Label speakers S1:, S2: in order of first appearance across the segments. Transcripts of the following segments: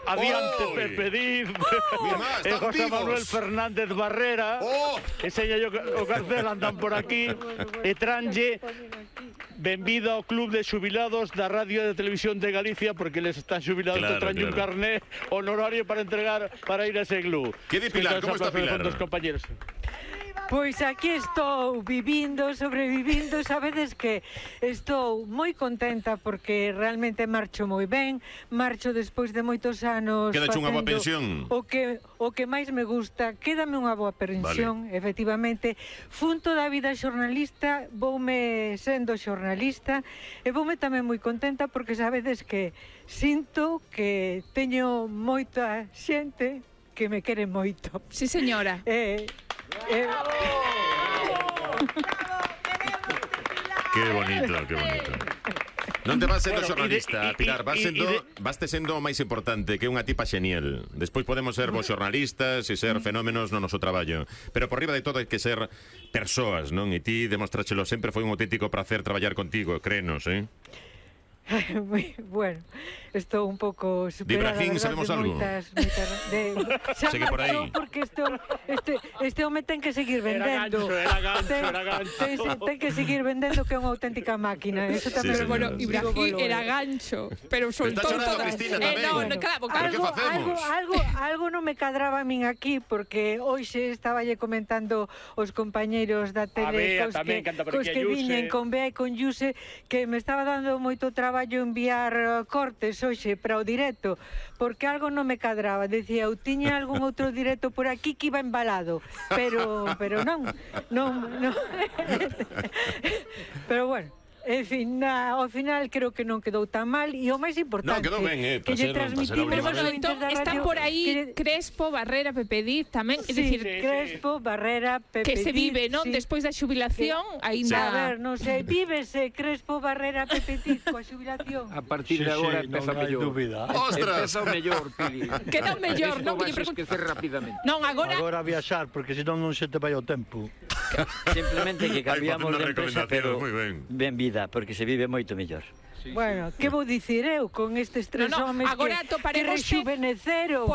S1: Adiante Pepe Diz e José Manuel Fernández Barrera e seña o cartel andan por aquí e tranlle benvido ao Club de Xubilados da Radio e da Televisión de Galicia porque les están xubilados que tranlle un carné honorario para entregar para ir a ese club.
S2: Que di Pilar? Como está Pilar?
S1: Compañeros.
S3: Pois aquí estou vivindo, sobrevivindo, sabedes que estou moi contenta porque realmente marcho moi ben, marcho despois de moitos anos
S2: facendo unha boa pensión.
S3: O que máis me gusta, quédame unha boa pensión, efectivamente. Fun toda a vida xornalista, voume sendo xornalista e voume tamén moi contenta porque sabedes que sinto que teño moita xente que me quere moito.
S4: Sí, señora.
S2: Que bonito, que bonito. Non te vas sendo xornalista, Pilar, vaste sendo o máis importante, que é unha tipa xenial. Despois podemos ser vos xornalistas e ser fenómenos no noso traballo, pero por riba de todo hai que ser persoas, non? E ti demostrachelo sempre, foi un auténtico placer traballar contigo, créenos,
S3: Bueno, estou un pouco superada.
S2: De Ibrahim sabemos algo? Segue por aí.
S3: Porque este home ten que seguir vendendo.
S1: Era gancho.
S3: Ten que seguir vendendo, que é unha auténtica máquina. Eso tamén.
S4: Pero bueno, Ibrahim era gancho, pero soltou toda.
S3: Algo non me cadraba a min aquí, porque hoxe estaballe comentando os compañeiros da tele cos que viñen con Bea e con Yuse, que me estaba dando moito traballo enviar cortes hoxe para o directo, porque algo non me cadraba. Decía, eu tiña algún outro directo por aquí que iba embalado, pero non. Pero bueno, en fin, ao final creo que non quedou tan mal e o máis importante
S2: quedou ben,
S3: que lle transmitimos
S4: bueno, entón están por aí Crespo, Barrera, Pepe Diz tamén, é dicir,
S3: Crespo, Barrera, Pepe
S4: que
S3: Diz,
S4: se vive, non? Despois da xubilación, aínda...
S3: A ver, non sei, vívese Crespo, Barrera, Pepe Diz coa xubilación.
S5: A partir de agora empeza mellor.
S2: Ostras!
S5: Empeza o mellor, Pili.
S4: Que non mellor, non?
S5: Vas a esquecer rapidamente.
S4: Non,
S1: agora viaxar, porque senón non se te vai o tempo.
S5: Simplemente que cambiamos de empresa, pero ben vida, porque se vive moito mellor.
S3: Bueno, que vou dicir eu con estes tres homes que rexuveneceron.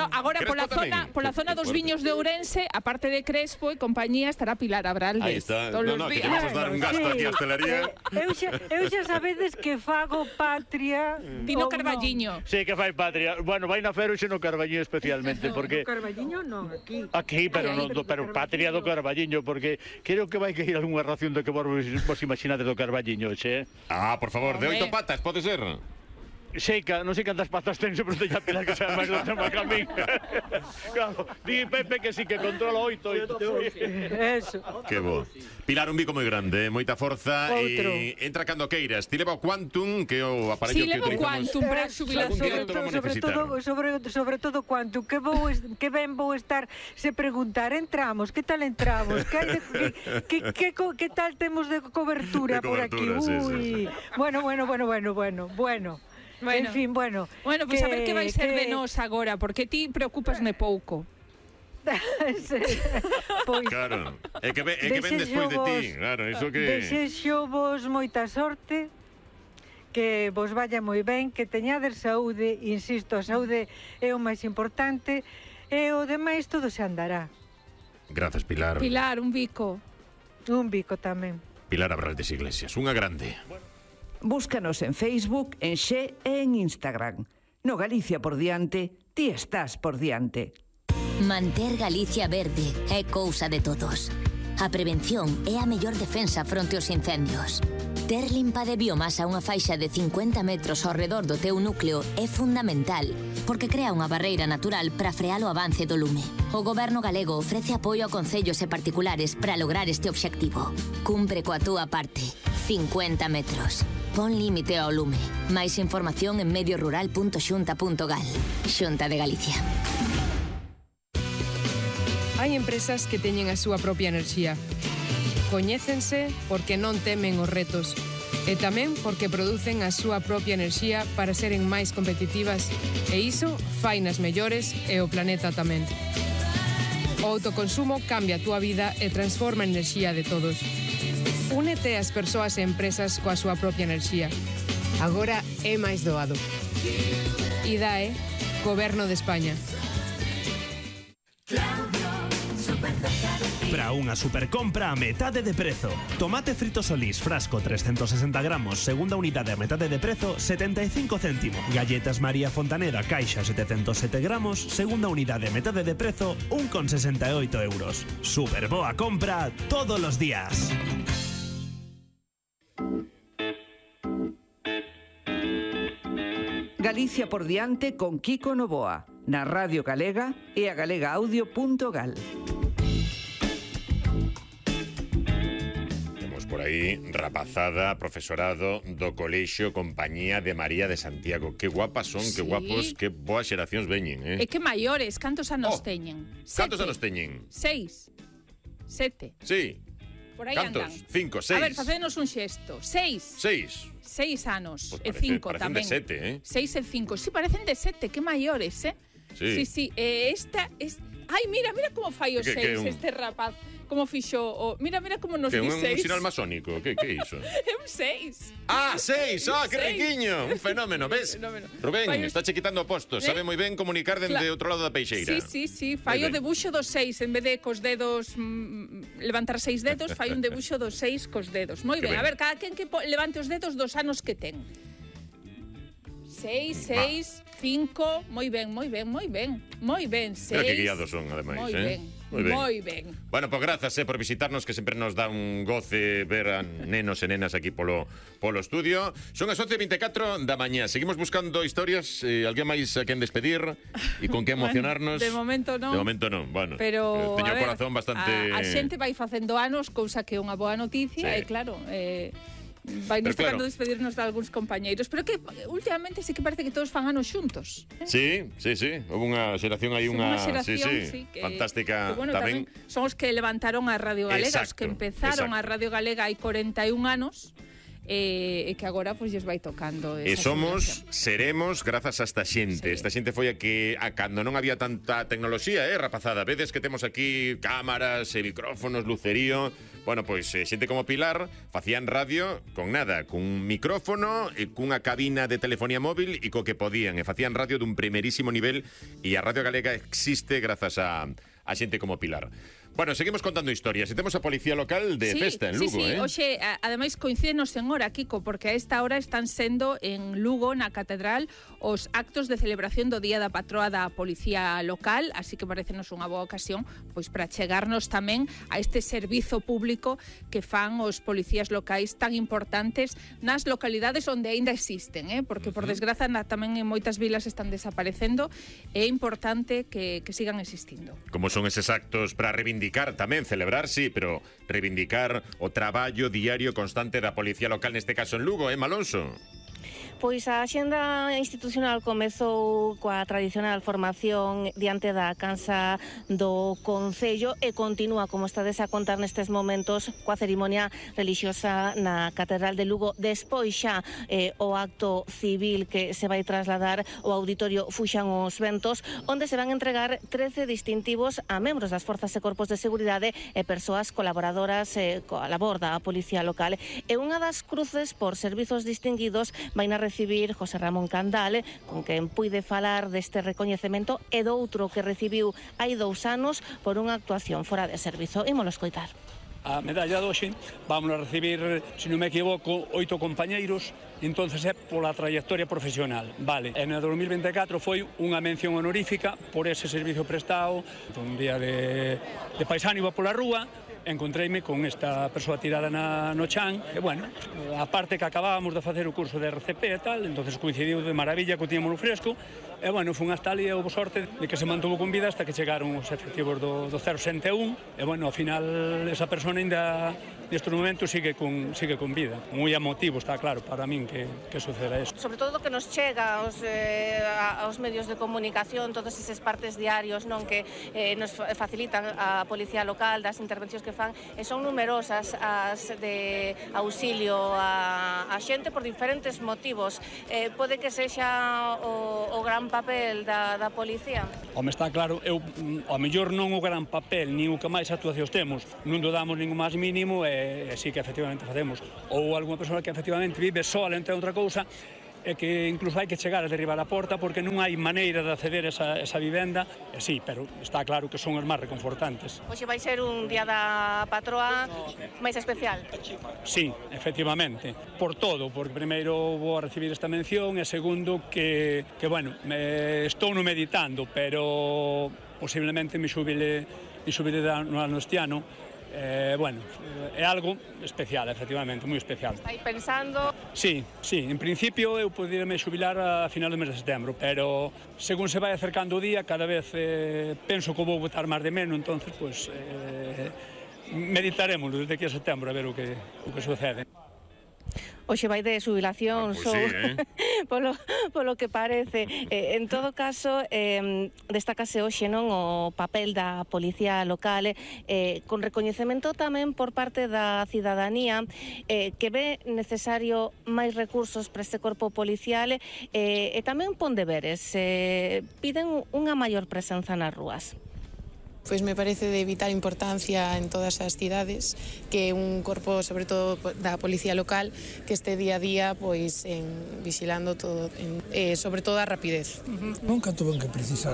S4: Agora pola zona dos viños de Ourense, a parte de Crespo e compañía, estará Pilar Abraldes.
S2: Aí está. Que te vamos dar un gasto aquí a hostelería.
S3: Eu xa sabedes que fago patria.
S4: Dino Carballiño.
S1: Sí, que fai patria. Bueno, vai na fer hoxe no Carballiño especialmente, porque...
S3: No Carballiño non, aquí.
S1: Aquí, pero patria do Carballiño, porque creo que vai que ir algunha ración do que vos imaginades do Carballiño, xe.
S2: Por favor, de 8 patas, pode ser?
S1: Non sei cantas patas ten, se pregunta a Pilar que sabe máis do tema que a min. Claro, di Pepe que sí que controla 8.
S3: Eso.
S2: Que bo. Pilar, un bico moi grande, moita forza e entra cando queiras. Ti leva o Quantum, que é o aparello que utilizamos.
S4: Si, leva o Quantum para a xubilación.
S3: Sobre todo Quantum, que ben vou estar se preguntar, entramos, que tal entramos? Que tal temos de cobertura por aquí? Ui. Bueno. En fin, bueno.
S4: Bueno, pois a ver que vai ser de nós agora, porque ti preocupasme pouco.
S3: Pois,
S2: claro, é que ven despois de ti, claro, iso que...
S3: Desexo vos moita sorte, que vos vaya moi ben, que teñades saúde, insisto, a saúde é o máis importante, e o demais todo se andará.
S2: Grazas, Pilar.
S4: Pilar, un bico.
S3: Un bico tamén.
S2: Pilar Abraldes Iglesias, unha grande.
S6: Búscanos en Facebook, en Xe e en Instagram. No Galicia por diante, ti estás por diante.
S7: Manter Galicia verde é cousa de todos. A prevención é a mellor defensa fronte aos incendios. Ter limpa de biomasa unha faixa de 50 metros ao redor do teu núcleo é fundamental, porque crea unha barreira natural para frear o avance do lume. O Goberno galego ofrece apoio a concellos e particulares para lograr este obxectivo. Cumpre coa túa parte. 50 metros. Pon límite ao lume. Máis información en mediorural.xunta.gal. Xunta de Galicia.
S8: Hai empresas que teñen a súa propia enerxía. Coñécense porque non temen os retos e tamén porque producen a súa propia enerxía para seren máis competitivas e iso fainas mellores e o planeta tamén. O autoconsumo cambia a túa vida e transforma a enerxía de todos. Únete ás persoas e empresas coa súa propia enerxía. Agora é máis doado. IDAE, Goberno de España.
S9: Para unha supercompra a metade de prezo. Tomate frito Solís, frasco 360 gramos, segunda unidade a metade de prezo, 75 céntimo. Galletas María Fontaneda, caixa 707 gramos, segunda unidade a metade de prezo, 1,68 euros. Super boa compra todos os días.
S6: Galicia por diante con Kiko Novoa, na Radio Galega e a galegaaudio.gal.
S2: Por aí, rapazada, profesorado do Colexio Compañía de María de Santiago. Que guapas son, que guapos, que boas xeracións veñen,
S4: E que maiores, cantos anos teñen?
S2: Cantos anos teñen?
S4: 6, 7.
S2: Sí.
S4: Por aí
S2: cantos?
S4: andan.
S2: 5, 6.
S4: A ver, facenos un xesto. 6 anos.
S2: Pues
S4: e 5
S2: parecen
S4: tamén.
S2: de 7,
S4: 6 e 5. Sí, parecen de 7, que maiores, Sí. Esta es... Ai, mira como fai o 6 este rapaz. Como fixo mira como nos di 6.
S2: Un sinal masónico, que é iso?
S4: É un 6.
S2: Ah, 6, que riquiño. Un fenómeno, ves? Rubén, está che quitando postos, sabe moi ben comunicar dende outro lado da peixeira.
S4: Sí, fai o debuxo dos 6, en vez de cos dedos levantar 6 dedos, fai un debuxo dos 6 cos dedos. Moi ben, a ver, cada quen que levante os dedos dos anos que ten. 6, 5, moi ben, 6.
S2: Pero que guiados son, ademais,
S4: Moi ben.
S2: Bueno, pois grazas por visitarnos, que sempre nos dá un goce ver a nenos e nenas aquí polo estudio. Son as 11:24 da mañá. Seguimos buscando historias, alguén máis a quen despedir e con que emocionarnos.
S4: De momento non.
S2: Bueno,
S4: pero
S2: teño o corazón bastante...
S4: A xente vai facendo anos, cousa que é unha boa noticia, e claro... vai nos tocando despedirnos de algúns compañeiros, pero que últimamente sí que parece que todos fan anos xuntos.
S2: Sí. Houve unha xeración aí, fantástica
S4: que,
S2: tamén.
S4: Son os que levantaron a Radio Galega, os que empezaron a Radio Galega hai 41 anos. E que agora pois lles vai tocando esa
S2: seremos grazas a esta xente. Esta xente foi a que cando non había tanta tecnoloxía, rapazada, vedes que temos aquí cámaras e micrófonos, lucerío. Bueno, pois xente como Pilar facían radio con nada, cun micrófono e cunha cabina de telefonía móvil e co que podían, e facían radio dun primerísimo nivel, e a Radio Galega existe grazas a xente como Pilar. Bueno, seguimos contando historias. E temos a Policía Local de festa en Lugo,
S4: Oxe, ademais coincídenos en hora, Kiko, porque a esta hora están sendo en Lugo, na Catedral, os actos de celebración do Día da Patroa da Policía Local, así que parecenos unha boa ocasión pois para chegarnos tamén a este servizo público que fan os policías locais tan importantes nas localidades onde aínda existen, porque por desgraza tamén en moitas vilas están desaparecendo, e é importante que sigan existindo.
S2: Como son eses actos para reivindicar tamén, celebrar, sí, pero reivindicar o traballo diario constante da Policía Local, neste caso en Lugo, Malonso?
S10: Pois a axenda institucional comezou coa tradicional formación diante da Cansa do Concello e continúa, como estades a contar nestes momentos, coa cerimonia relixiosa na Catedral de Lugo. Despois xa o acto civil que se vai trasladar ao Auditorio Fuxan os Ventos, onde se van entregar 13 distintivos a membros das forzas e corpos de seguridade e persoas colaboradoras coa labor da Policía Local. E unha das cruces por servizos distinguidos vai na recibir José Ramón Candal, con quen puide falar deste recoñecemento e do outro que recibiu hai 2 anos por unha actuación fora de servizo. Ímolo escoitar.
S11: A medalla de hoxe vamos a recibir, se non me equivoco, 8 compañeiros, entonces é pola trayectoria profesional. Vale, en 2024 foi unha mención honorífica por ese servizo prestado. Un día de paisano iba pola rúa, encontreime con esta persoa tirada no chan, e bueno, a parte que acabábamos de facer o curso de RCP e tal, entonces coincidiu de maravilla que o tiñamos no fresco, e bueno, fun hasta ali e houve sorte de que se mantuvo con vida hasta que chegaron os efectivos do 061, e bueno, ao final esa persona ainda nestes momentos sigue con vida. Moi emotivo, está claro, para min que suceda isto.
S10: Sobre todo que nos chega aos medios de comunicación, todos eses partes diarios, non, que nos facilitan a Policía Local, das intervencións que fan, e son numerosas as de auxilio a xente por diferentes motivos. Pode que sexa o gran papel da policía?
S11: Home, está claro, eu ao mellor non o gran papel, nin o que máis actuacións temos, non do damos nin o máis mínimo, e sí que efectivamente facemos. Ou algunha persoa que efectivamente vive sola entre outra cousa, é que incluso hai que chegar a derribar a porta porque non hai maneira de acceder a esa vivenda, sí, pero está claro que son as máis reconfortantes.
S10: Hoxe vai ser un día da patroa máis especial.
S11: Sí, efectivamente, por todo, porque primeiro vou a recibir esta mención e segundo que bueno, estou no meditando, pero posiblemente me xubile no ano este ano. Bueno, é algo especial, efectivamente, moi especial.
S10: Estáis pensando?
S11: Sí, en principio eu poderíame xubilar a final do mes de setembro, pero según se vai acercando o día, cada vez penso que vou botar máis de menos, entonces, pues, meditaremos desde aquí a setembro a ver o que sucede.
S10: Hoxe vai de xubilación,
S2: pues sí,
S10: polo que parece. En todo caso, destácase hoxe non o papel da policía local, con recoñecemento tamén por parte da cidadanía, que ve necesario máis recursos para este corpo policial, e tamén pon deberes, piden unha maior presenza nas rúas.
S12: Pois me parece de vital importancia en todas as cidades que un corpo, sobre todo da policía local, que este día a día pois vigilando todo, sobre todo a rapidez.
S13: Nunca tuven que precisar